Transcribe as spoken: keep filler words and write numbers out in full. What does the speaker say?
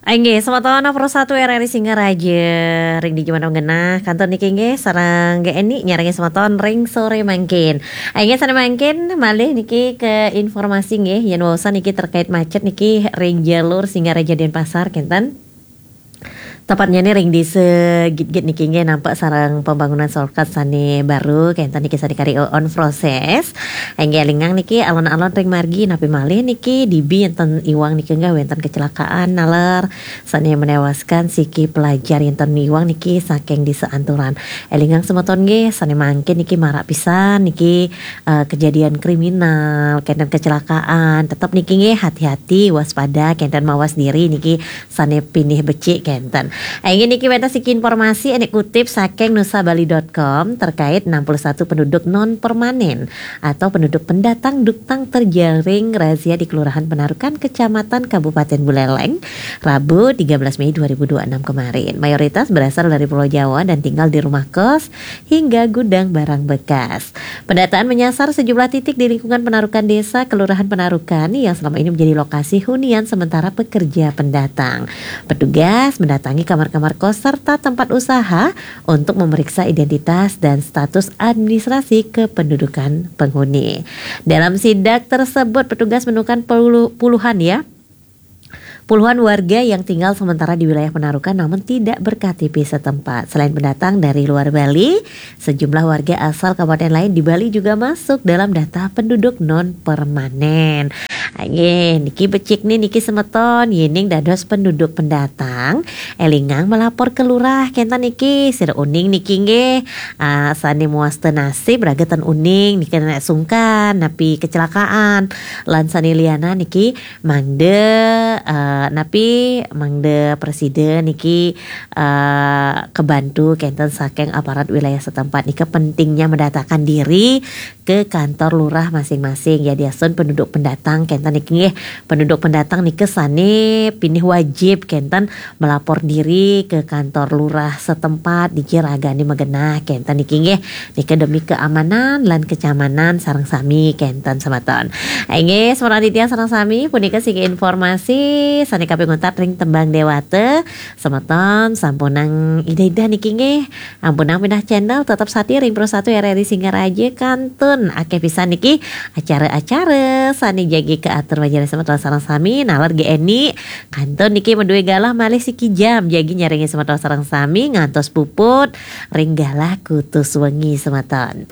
Inggih, semeton Pro satu R R I Singaraja, ring dija mangkin genah, kantun niki inggih, sareng G N I nyarengin semeton ring sore mangkin. Inggih, sane mangkin malih niki ke informasi nggih, yen waosan niki terkait macet niki ring jalur Singaraja Denpasar, kenten. Tepatnyane ring Desa Gitgit niki inggih nampek sareng pembangunan shortcut sane baru, kenten niki sane kari on proses. Inggih elingang niki alon-alon ring margi napi malih niki dibi enten iwang niki enggah wenten kecelakaan naler sane menewaskan siki pelajar enten iwang niki saking Desa Anturan. Elingang semeton nggih sane mangkin niki marak pisan niki eh, kejadian kriminal, kenten kecelakaan, tetep niki nggih hati-hati waspada kenten mawas diri niki sane pinih becik kenten. Inggih niki wenten siki informasi ane kutip saking nusabali dot com terkait enam puluh satu penduduk non permanen atau penduduk pendatang duktang terjaring razia di Kelurahan Penarukan, Kecamatan Kabupaten Buleleng, Rabu tiga belas Mei dua ribu dua puluh enam kemarin. Mayoritas berasal dari Pulau Jawa dan tinggal di rumah kos hingga gudang barang bekas. Pendataan menyasar sejumlah titik di lingkungan Penarukan Desa, Kelurahan Penarukan yang selama ini menjadi lokasi hunian sementara pekerja pendatang. Petugas mendatangi kamar-kamar kos serta tempat usaha untuk memeriksa identitas dan status administrasi kependudukan penghuni. Dalam sidak tersebut, petugas menemukan puluh- puluhan ya, puluhan warga yang tinggal sementara di wilayah Penarukan namun tidak ber-K T P setempat. Selain pendatang dari luar Bali, sejumlah warga asal kabupaten lain di Bali juga masuk dalam data penduduk non permanen. Nggih, niki becik nih niki semeton, yening dados penduduk pendatang, elingang melapor ke lurah, kenten niki, sira uning niki nggih, ah, sane muasta nasib raga ten uning niki nek sungkan napi kecelakaan, lan sane liana niki mangda, eh, napi mangda presida niki eh, kebantu kenten saking aparat wilayah setempat nika pentingnya mendatakan diri ke kantor lurah masing-masing. Ya, diastun penduduk pendatang kenten niki nggih, penduduk pendatang nika sane pinih wajib kenten melapor diri ke kantor lurah setempat dija ragane magenah kenten niki nggih, nika demi keamanan lan kenyamanan sareng sami kenten semeton. Inggih, semeton Aditya sareng sami, punika siki informasi sane kaping untat ring tembang dewata. Semeton sampunang ida-ida niki nggih, ampunang pindah channel, tetep sati ring Pro satu R R I Singaraja, kantun akeh pisan niki acara-acara sane jagi kaatur majeng semeton sareng sami, naler G N I kantun niki madue galah malih siki jam jagi nyarengin semeton sareng sami ngantos puput ring galah kutus wengi semeton.